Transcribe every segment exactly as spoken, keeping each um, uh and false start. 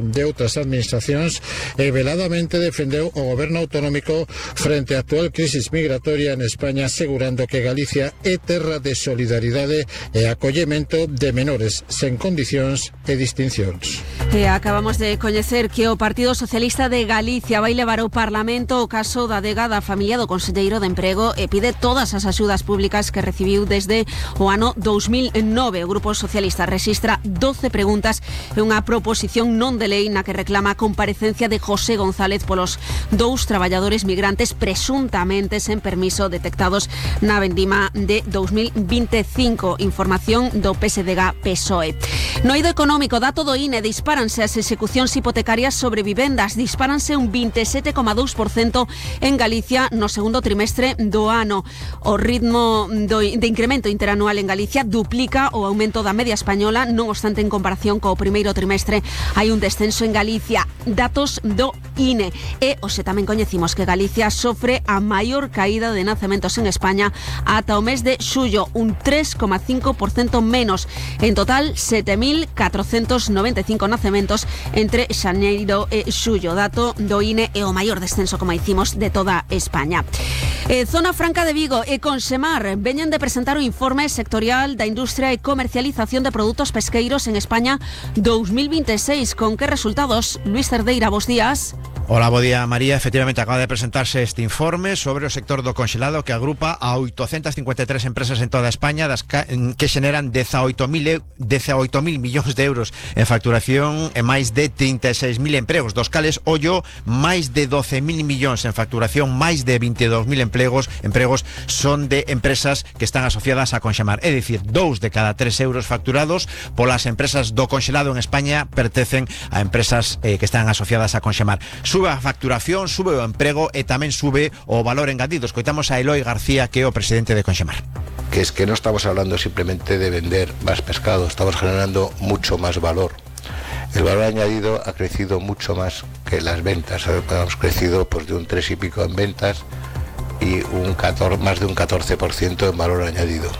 de outras administracións e veladamente defendeu o goberno autonómico frente á actual crisis migratoria en España, asegurando que Galicia é terra de solidaridade e acollemento de menores sen condicións e distincións. E acabamos de coñecer que o Partido Socialista de Galicia vai levar ao Parlamento o caso da adega da familia do conselleiro de Emprego e pide todas as axudas públicas que recibiu desde o ano dous mil nove. O Grupo Socialista rexistra doce preguntas e unha proposición non de lei na que reclama a comparecencia de José González polos dous traballadores migrantes presuntamente sen permiso detectados na vendima de dous mil veinticinco. Información do P S D G P S O E. No eido económico, dato do I N E, dispáranse as execucións hipotecarias sobre vivendas, dispáranse un veintisiete coma dous por cento en Galicia no segundo trimestre do ano. O ritmo do, de incremento interanual en Galicia duplica o aumento da media española, non obstante en comparación co primeiro trimestre hai un descenso en Galicia. Datos do I N E. E hoxe tamén coñecimos que Galicia sofre a maior caída de nacementos en España ata o mes de xullo, un tres coma cinco por cento menos. En total, sete mil catrocentos noventa e cinco nacementos entre xaneiro e xullo. Dato do I N E e o maior descenso, como dicimos, de toda España. Eh, Zona Franca de Vigo e Consemar veñen de presentar o informe sectorial da industria e comercialización de produtos pesqueiros en España dous mil veintiséis. Con que resultados? Luis Cerdeira, bos días. Hola, bo día, María. Efectivamente, acaba de presentarse este informe sobre o sector do conxelado que agrupa a oitocentas cincuenta e tres empresas en toda España das que xeneran dezaoito mil millóns de euros en facturación e máis de trinta e seis mil empregos, dos cales, ollo, máis de doce mil millóns en facturación, máis de veintidós mil empregos, empregos son de empresas que están asociadas a Conxemar. É dicir, dous de cada tres euros facturados polas empresas do conxelado en España pertencen a empresas eh, que están asociadas a Conxemar. Sube a facturación, sube o emprego e tamén sube o valor engadido. Escoitamos a Eloi García, que é o presidente de Conxemar. Que es que no estamos hablando simplemente de vender más pescado, estamos generando mucho más valor. El valor añadido ha crecido mucho más que las ventas. Hemos crecido pues de un tres y pico en ventas y un catorce, más de un catorce por ciento en valor añadido.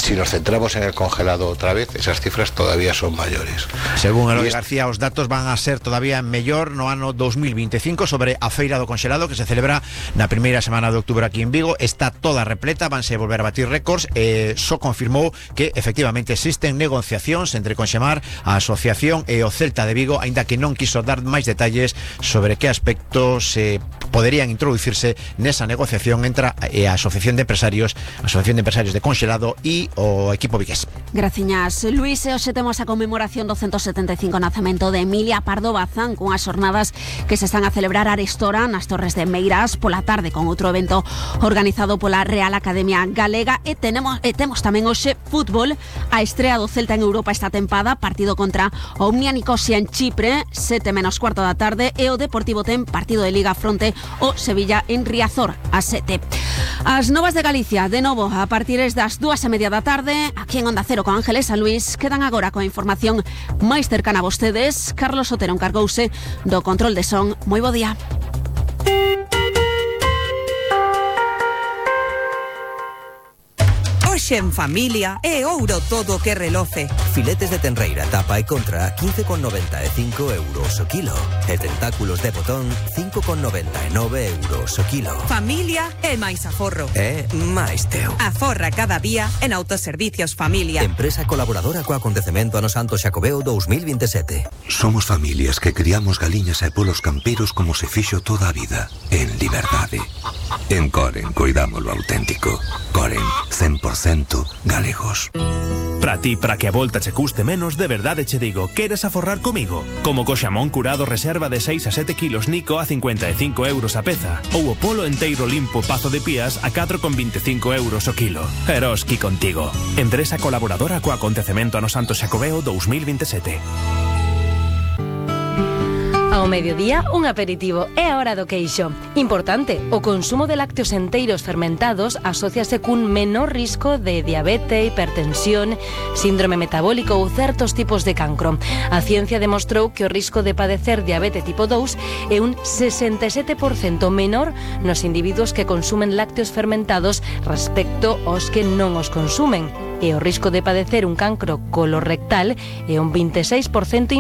Si nos centramos en el congelado otra vez, esas cifras todavía son mayores. Según Eloi García, os datos van a ser todavía mellor no ano dous mil veinticinco sobre a Feira do Conxelado que se celebra na primeira semana de outubro aquí en Vigo. Está toda repleta, vanse volver a batir récords e só confirmou que efectivamente existen negociacións entre Conxemar, a asociación e o Celta de Vigo, aínda que non quiso dar máis detalles sobre que aspectos se poderían introducirse nesa negociación entre a Asociación de Empresarios, a Asociación de Empresarios de Conxelado e o equipo vigués. Graciñas, Luis. E hoxe temos a conmemoración do ciento setenta e cinco nacemento de Emilia Pardo Bazán, cunhas xornadas que se están a celebrar arestora nas Torres de Meirás pola tarde, con outro evento organizado pola Real Academia Galega. E tenemos, e temos tamén hoxe fútbol, a estrea do Celta en Europa esta tempada, partido contra o Omnia Nicosia en Chipre, sete menos cuarto da tarde, e o Deportivo ten partido de Liga fronte o Sevilla en Riazor, a sete. As novas de Galicia, de novo, a partir das dúas e media da tarde, aquí en Onda Cero con Ángeles San Luis, quedan agora coa información máis cercana a vostedes. Carlos Otero encargouse do control de son. Moi bo día. Hoxe en familia é ouro todo que reloce. Filetes de tenreira, tapa e contra a quince con noventa e cinco euros o kilo. E tentáculos de botón cinco con noventa e nove euros o kilo. Familia é máis aforro. É máis teu. Aforra cada día en Autoservicios Familia. Empresa colaboradora co acontecemento ano Santo Xacobeo dous mil veintisiete. Somos familias que criamos galiñas e polos camperos como se fixo toda a vida, en liberdade. En Coren cuidamos lo auténtico. Coren, cen por cento galegos. Para ti, para que a volta che custe menos, de verdade che digo, queres aforrar comigo? Como co xamón curado reserva de seis a sete kilos Nico a cincuenta e cinco euros a peza, ou o polo enteiro limpo Pazo de Pías a catro con veinticinco euros o kilo. Eroski contigo. Empresa colaboradora co acontecemento ano Santo Xacobeo dous mil veintisiete. Ao mediodía, un aperitivo é a hora do queixo. Importante, o consumo de lácteos enteiros fermentados asociase cun menor risco de diabetes, hipertensión, síndrome metabólico ou certos tipos de cancro. A ciencia demostrou que o risco de padecer diabetes tipo dous é un sesenta e sete por cento menor nos individuos que consumen lácteos fermentados respecto aos que non os consumen. E o risco de padecer un cancro colorectal é un veintiséis por cento inferior